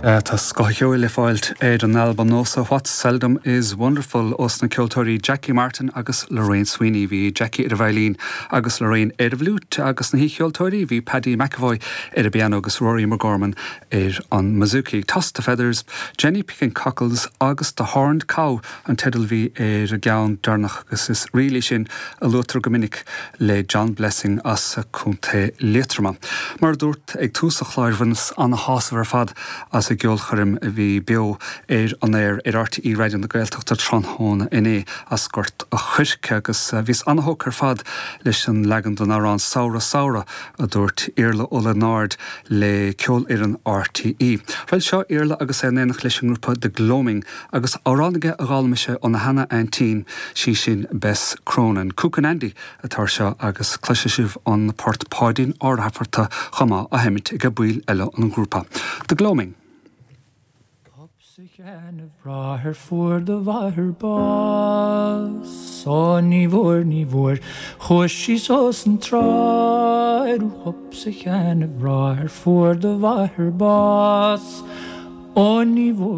Tá scoth an cheoil le fáilt ar an albam nua seo What's Seldom Is Wonderful ós na ceoltóirí Jackie Martin agus Lorraine Sweeney. Bhí Jackie ar an veidhlín agus Lorraine ar an bhfliúit agus na haoicheoltóirí bhí Paddy McEvoy ar an bpianó agus Rory McGorman ar an mbouzouki. Toss the Feathers, Jenny Picking Cockles agus The Horned Cow an teideal a bhí ar an gceann deireanach agus is ríl í sin a luaitear go minic le John Blessing as Contae Liatroma. Mar a dúrt ag tús an chláir bhaineas ana-shásamh ar fad as an gceolchoirm a bhí beo ar an aer ar RTÉ Raidió na Gaeltachta tráthnóna inné as Gort a' Choirce agus bhíos ana-thógtha ar fad leis an leagan den amhrán Samhradh Samhradh a dúirt Iarla Ó Lionáird le ceolfhoireann RTÉ. Bhuel seo Iarla agus é in éineacht leis an ngrúpa The Gloaming Agus amhrán aige a d'fhoghlaim sé óna sheana-aintín, sí sin Bess Cronin. Cookin' Andy atá air seo agus cloisfidh sibh an port Páidín Ó Raifearta chomh maith á sheimint ag baill eile an ghrúpa. The Gloaming. Hop sa sheana-bhráthair fuair do mháthair bás Ó ní bhfuair, ní bhfuair, chuaigh sí suas an trá Hop sa sheana-bhráthair fuair do mháthair bás Ó ní bhfuair.